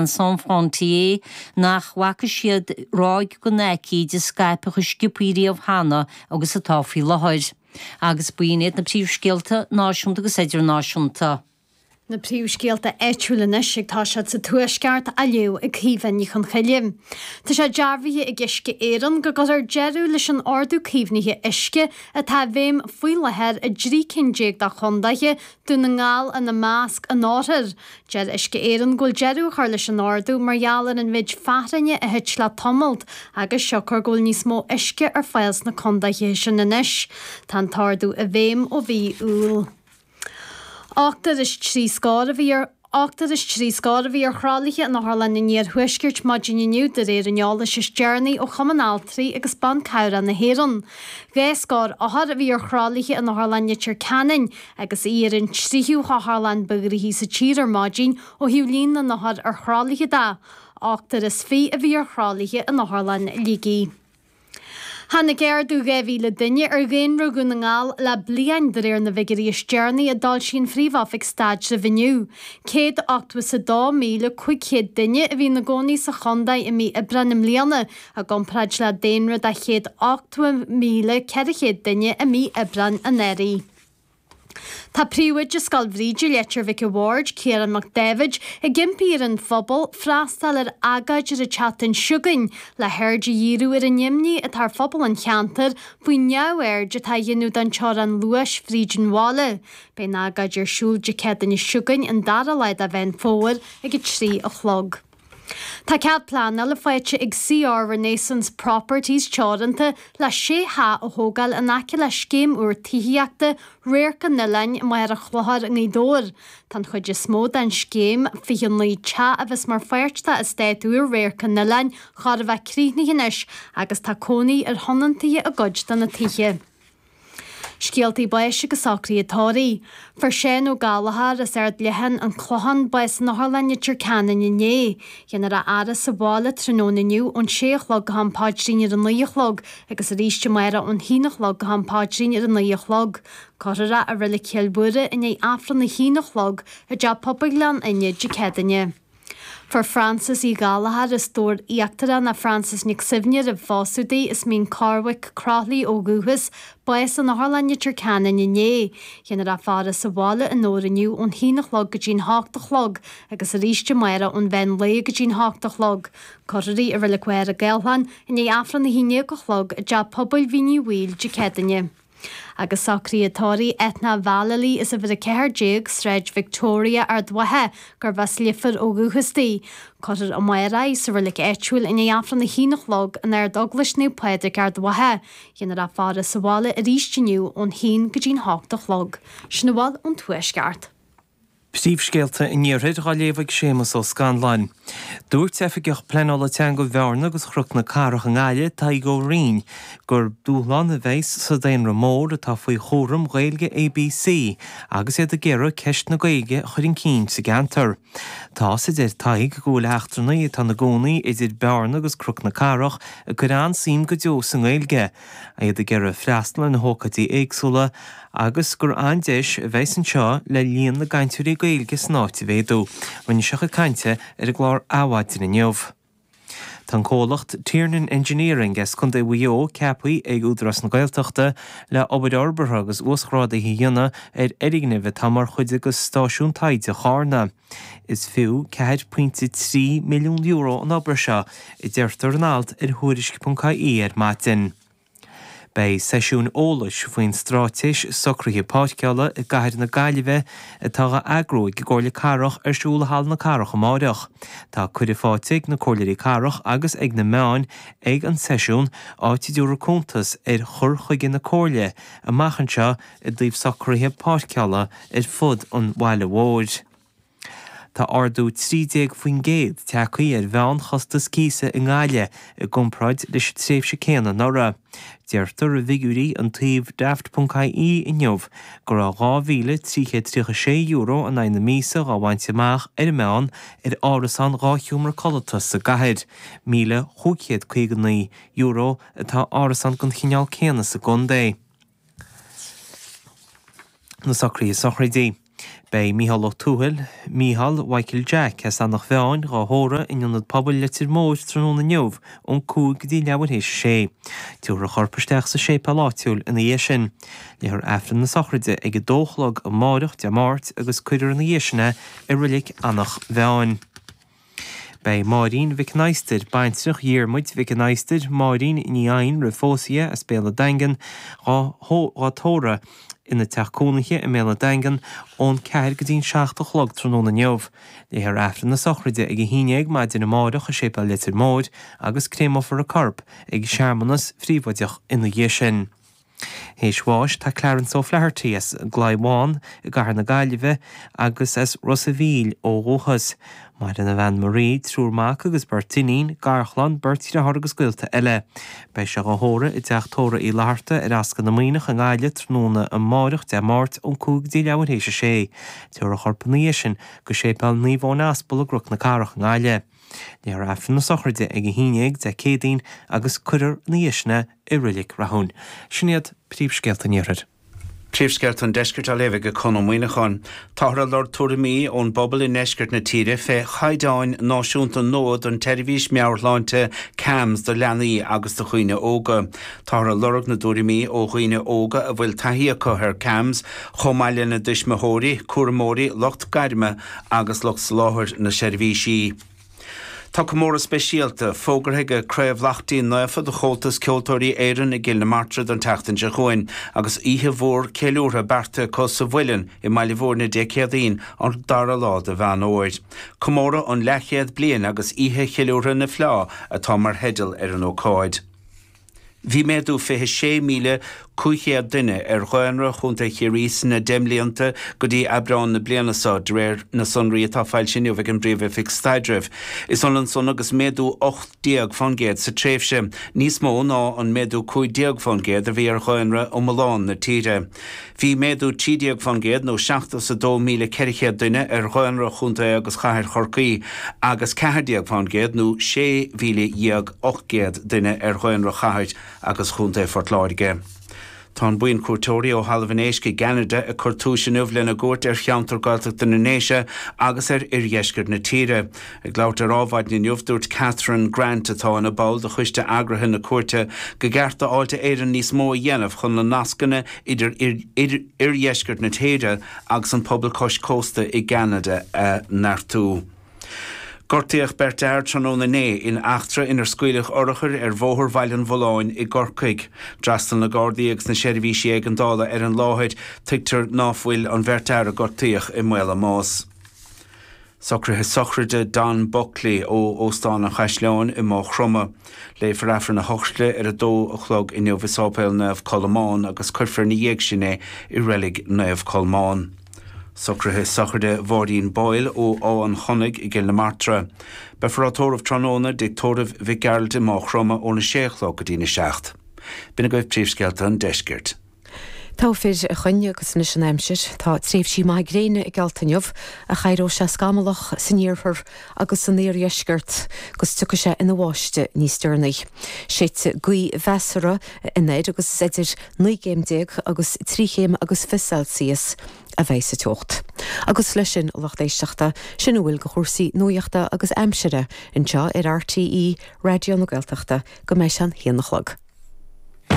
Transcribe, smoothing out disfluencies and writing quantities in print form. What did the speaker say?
Sans Frontières nach bhfaca siad ráig den aicíd ag scaipeadh chomh sciobthaí riamh cheana agus atá faoi láthair. Agus b'in iad na príomhscéalta náisiúnta agus idirnáisiúnta. Na príomhscéalta áitiúla anois ag toiseacht sa Tuaisceart á léamh ag Caoimhe Ní Chonchoille. Tá sé dearbhaithe ag Uisce Éireann go gcuirfear deireadh leis an Ordú Caomhnaithe Uisce atá i bhfeidhm faoi láthair i dtrí cinn déag de chondaetha, Dún na nGall ina measc, an Oirthir. Deir Uisce Éireann go bhfuil deireadh á chur leis an ordú mar gheall ar an mhéid fearthainne a thit le tamalt agus siocair go bhfuil níos mó uisce ar fáil sna condaetha sin anois. Tá an t-ordú i bhfeidhm ó mhí Iúil. Ochtar is trí scór a bhí ar Ochtar is trí scór a bhí ar thralaithe in Otharlann an Iarthuaiscirt maidin inniu de réir an eolais is deireanaí ó Chumann Altraí agus Ban Cabhrach na hÉireann. Dhá scór othar a bhí ar thralaithe in Otharlann Leitir Ceanainn agus í ar an tríú hotharlann ba ghnoithí sa tír ar maidin ó thaobh líon na n-othar ar thralaithe de. Ochtar is 20 a bhí ar thralaithe in Otharlann Shligigh. Tháinig ardú 2,000 duine ar dhaonra Dhún na nGall le bliain, de réir na bhfigiúirí is deireanaí a d'fhoilsigh an Phríomh-Oifig Staidrimh inniu. 182,500 duine a bhí ina gcónaí sa chontae i mí Aibreáin i mbliana, i gcomparáid le daonra de 180,400 duine i mí Aibreáin anuraidh. Tá príomhoide Scoil Bhríde, Leitir Mhic a' Bhaird, Ciarán Mac Daibhéid, ag impí ar an phobal freastal ar agóid ar an tseachtain seo chugainn le haird a dhíriú ar an imní atá ar phobal an cheantair faoin neamhaird atá á dhéanamh den teorainn luais fríd an bhaile. Beidh an agóid ar siúl Dé Céadaoine seo chugainn, an dara lá de Mheán Fómhair, ag 3 a chlog. Tá cead pleanála faighte ag CR Renaissance Properties Teoranta le sé theach a thógáil in aice le scéim úr tithíochta Radharc an Oileáin i Machaire Chlochair i nGaoth Dobhair. Tá an chuid is mó den scéim, 29 teach a bheas mar pháirt de eastát úr Radharc an Oileáin, chóir a bheith críochnaithe anois agus tá cónaí ar thionóntaithe i gcuid de na tithe. Scéaltaí báis agus socruithe tórraimh. Fuair Seán Ó Gallchóir as Ard Leatháin, An Clochán, bás in Otharlann Leitir Ceanainn inné. Dhéanfar a fhaire sa bhaile tráthnóna inniu ón sé a chlog go ham paidrín ar a naoi a chlog agus arís amárach ón haon a chlog go ham paidrín ar a naoi a chlog. Cuirfear é i Reilig Chill Mhuire i ndiaidh Aifreann a haon a chlog i dTeach Pobail Ghleann Fhinne Dé Céadaoine. Fuair Frances Uí Ghallchóir as Dobhar Íochtarach nó Frances Nic Suibhne roimh phósadh di, as Mín Corrbhaic, Croithlí ó dhúchas, bás in Otharlann Leitir Ceanainn inné. Dhéanfar a faire sa bhaile i nDobhar inniu ón haon a chlog go dtí'n hocht a chlog agus arís amárach ón mheán lae go dtí'n hocht a chlog. Cuirfear í i Reilig Mhachaire Gathlán i ndiaidh Aifreann a haon déag a chlog i dTeach Pobail Mhín Uí Bhaoill Dé Céadaoine. Agus socruithe tórraimh Ethna Vallely as uimhir 14, Sráid Victoria, Ard Mhacha, gurbh as Leifear ó dhúchas di. Cuirfear amárach í sa reilig áitiúil i ndiaidh Aifreann a haon a chlog in Ard-Eaglais Naomh Pádraig, Ard Mhacha. Dhéanfar a faire sa bhaile arís inniu ón haon go dtí'n hocht a chlog. Sin a bhfuil ón Tuaisceart. Príomhscéalta an Iarthair á léamh ag Séamus Ó Scanláin. Dúirt Oifigeach Pleanála Teanga Bhearna agus Chnoc na Cathrach i nGaillimh, Tadhg Ó Rinn, gur dúshlán a bheas sa daonra mór atá faoi chúram Ghaeilge ABC agus iad ag iarraidh ceist na Gaeilge a chur chun cinn sa gceantar. Tá's, a deir Tadhg, go bhfuil eachtrannaigh atá ina gcónaí idir Bearna agus Cnoc na Cathrach ag cur an-suim go deo sa nGaeilge, iad ag iarraidh freastal ar na hócáidí éagsúla agus gur an-deis a bheas anseo le líon na gcainteoirí Gaeilge san áit a mhéadú. Rinne sé a chuid cainte ar an gclár Adhmhaidin inniu. Tá an comhlacht Tiernan Engineering as Contae Mhaigh Eo ceaptha ag Údarás na Gaeltachta le obair fhorbartha agus uasghrádaithe a dhéanamh ar fhoirgnimh atá mar chuid de Stáisiún Taighde Charna. Is fiú €4.3 milliún an obair seo, a deirtear in alt ar Thuairisc.ie ar maidin. Beidh seisiúin eolais faoin Straitéis Socraithe Páirceála i gCathair na Gaillimhe atá á eagrú ag an gComhairle Cathrach ar siúl i Halla na Cathrach amáireach. Tá cuireadh faighte ag na Comhairleoirí Cathrach agus ag na meáin ag an seisiún, áit a dtabharfar cuntas ar chur chuige na Comhairle amach anseo i dtaobh socruithe páirceála ar fud an bhaile mhóir. Tá ardú 13% tagtha ar mheánchostas cíosa i nGaillimh i gcomparáid leis an tréimhse céanna anuraidh. Deirtear i bhfigiúirí an tsuímh Daft.ie inniu go raibh €2,336 in aghaidh na míosa dhá bhaint amach ar an meán ar árasán dhá sheomra codlata sa gcathair. €1,559 atá árasán den chineál céanna sa gcontae. Na socruithe sochraide. Beidh Micheál Ó Tuathail, Mícheál Mhichael Jack, as Eanach Mheáin, dhá thórramh in Ionad Pobail Leitir Móir tráthnóna inniu ón 5 go dtí leathuair théis a sé. Tabharfar a chorp isteach sa séipéal áitiúil ina dhiaidh sin. Léifear Aifreann na sochraide ag 2 a chlog amáireach, Dé Máirt, agus cuirfear ina dhiaidh sin é i Reilig Eanach Mheáin. Beidh Máirín Mhic an Adhastair, baintreach Dhiarmuid Mhic an Adhastair, Máirín Ní Eidhin roimh phósadh di, as Béal an Daingin, dhá tórramh ina teach cónaithe i mBéal an Daingin ón 4 go dtí an 7 a chlog tráthnóna inniu. Léifear Aifreann na sochraide ag 11 maidin amárach i Séipéal Leitir Móir agus créamófar a corp ag searmanas phríobháideach ina dhiaidh sin. Théis bháis tá Clarence O'Flaherty as an gClaí Bhán i gCathair na Gaillimhe agus as Ros a' Mhíl ó dhúchas. Maireann a bhean Marie, triúr mac agus beirt iníon, garchlann, beirt dhriotháir agus gaolta eile. Beidh sé dhá thórramh i dTeach Tórraimh Uí Fhlatharta ar Ascaill na Muimhneach i nGaillimh tráthnóna amáireach, Dé Máirt, ón 5 go dtí leathuair théis a sé. Tabharfar a chorp ina dhiaidh sin go Séipéal Naomh Eoin Aspal i gCnoc na Cathrach i nGaillimh. Léifear Aifreann na sochraide ag 11 Dé Céadaoin agus cuirfear ina dhiaidh sin é i Reilig Rathúin. Sin iad príomhscéalta an Iarthair. Príomhscéalta an Deiscirt á léamh ag Conn Ó Muíneacháin. Táthar ag lorg tuairimí ón bpobal i ndeisceart na tíre fé chaighdeáin náisiúnta nua don tseirbhís meabhairshláinte CAMHS do leanaí agus do dhaoine óga. Táthar ag lorg na dtuairimí ó dhaoine óga a bhfuil taithí acu ar CAMHS, chomh maith lena dtuismitheoirí, cúramóirí, lucht gairme agus lucht soláthair na seirbhísí. Tá comóradh speisialta fógartha ag Craobh Laichtín Naofa de Chomhaltas Ceoltóirí Éireann i gCill na Martra don tseachtain seo chugainn agus oíche mhór ceiliúrtha beartaithe acu sa Mhuileann i mBaile Bhúirne Dé Céadaoin an dara lá de Mheán Fhómhair. Comóradh an leathchéad bliain agus Oíche Cheiliúrtha na Fleá atá mar theideal ar an ócáid. Bhí méadú 26,500 duine ar dhaonra Chontae Chiarraí sna deich mblianta go dtí Aibreán na bliana seo, de réir na sonraí atá foilsithe inniu ag an bPríomh-Oifig Staidrimh. Is ionann san agus méadú 18% sa tréimhse, níos mó ná an méadú 15% a bhí ar dhaonra iomlán na tíre. Bhí méadú 13% nó 72,400 duine ar dhaonra Chontae agus Chathair Chorcaí agus 14% nó 16,800 duine ar dhaonra Chathair agus Chontae Phort Láirge. Tá an buíon cuairteoirí ó Thalamh an Éisc i gCeanada ag cur túis inniu lena gcuairt ar cheantar Gaeltachta na nDéise agus ar oirdheisceart na tíre. Ag labhairt ar Adhmhaidin inniu, dúirt Catherine Grant, atá ina ball de choiste eagraithe na cuairte, go gceart do Fháilte Éireann níos mó a dhéanamh chun na nascanna idir oirdheisceart na tíre agus an pobal cois cósta i gCeanada a neartú. Gortaíodh beirt fhear tráthnóna inné in eachtra inar scaoileadh urchair ar Bhóthar Bhaile an Bhulláin i gCorcaigh. D'fhreastail na Gardaí agus na seirbhísí éigeandála ar an láthair. Tuigtear ná fuil an bheirt fhear a gortaíodh i mbaol a mbás. Socruithe sochraide Don Buckley ó Óstán an Chaisleáin i Maigh Chromtha. Léifear Aifreann a shochraide ar a dó a chlog inniu i Sáipéal Naomh Colmán agus cuirfear ina dhiaidh sin é i Reilig Naomh Colmán. Socruithe sochraide Mháirín Boyle ó Áth an Chonnaigh i gCill na Martra. Beifear á tórramh tráthnóna i dTigh Tórraimh Mhic Gearailt i Maigh Chromtha óna sé a chlog go dtína seacht. B'in agaibh príomhscéalta an deiscirt. Togha fir a Choinn agus anois an aimsir. Tá tréimhsí maithe gréine geallta inniu ach éireoidh sé scamallach san iarthar agus san iardheisceart agus tiocfaidh sé ina bháisteach níos deireanaí. Séidfidh gaoth mheasartha anoir agus is idir 19 gcéim agus 3 chéim agus 20 Celsius a bheidh sa teocht. Agus leis sin, a lucht éisteachta, sin a bhfuil de chúrsaí nuachta agus aimsire anseo ar RTÉ Raidió na Gaeltachta go mbeidh sé an haon a chlog.